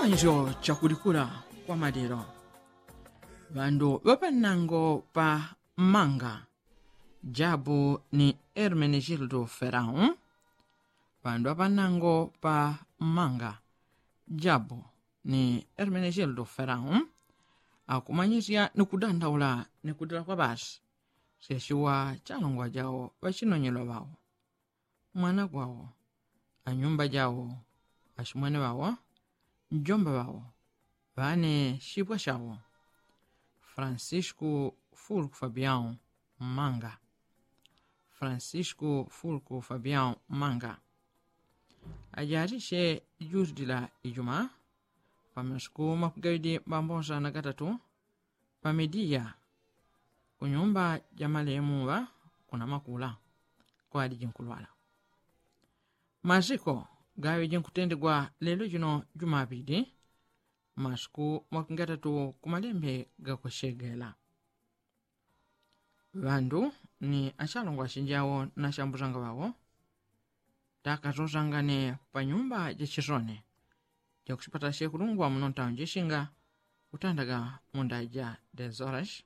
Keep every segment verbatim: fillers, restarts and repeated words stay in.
Icho chakulikula kwa malilo. Ŵandu ŵapanango pa manga, jabu ni ermenegildo ferau. Ŵandu ŵapanango pa manga, jabu ni ermenegildo ferau, akumanyisya ni kudandaula ni kudila kwa basi. Seshiwa chalongwa jao ŵachinonyelwa ŵao, mwana gwawo, anyumba jawo, achimwene ŵawo, njomba ŵawo, ŵane shipwa shawo. Francisco fulku fabiao manga. Francisco fulku fabiao manga, ajarishe judila ijuma, pamasiku makugawidi mbambosa na gatatu, pamidiya kunyumba ja malemu ŵa kuna makula kwadi jinkulwala. Masiko gaŵi jinkutendigwa lelo jino jumapili, masiku makungatatu kumalembe gakushegela. Ŵandu ni achalongwa achinjawo na achambuzanga ŵawo, takazozangane panyumba jachisoni jakuchipata shekulungwa muno ntaunji shinga kutandaga munda ja dezorash,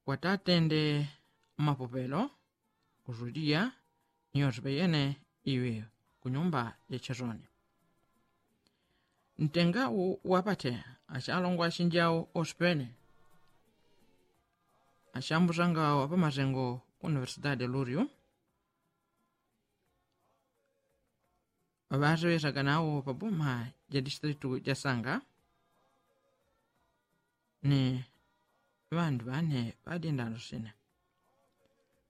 kwatatende mapopelo kuzuliya ni yosipeyene iwi kunyumba jachisoni. Ntenga wapate achalongwa achinjawo osipene, achambuzanga wapamasengo ku universidade luriu, ŵaŵaseŵesaga nawo paboma ja distritu ja sanga, ni ŵandu ŵane ŵadindandusine.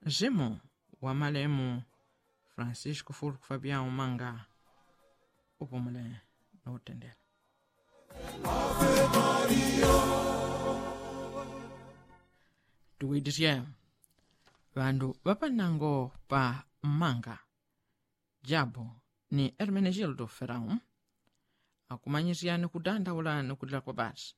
Nsimu wa malemu francisco fulku fabiao manga, upumule na utendela. Tuwitisye ŵandu ŵapanango pa manga, jabu ni ermenegildo ferau, akumanyisya ni kudandaula ni kudila kwa basi.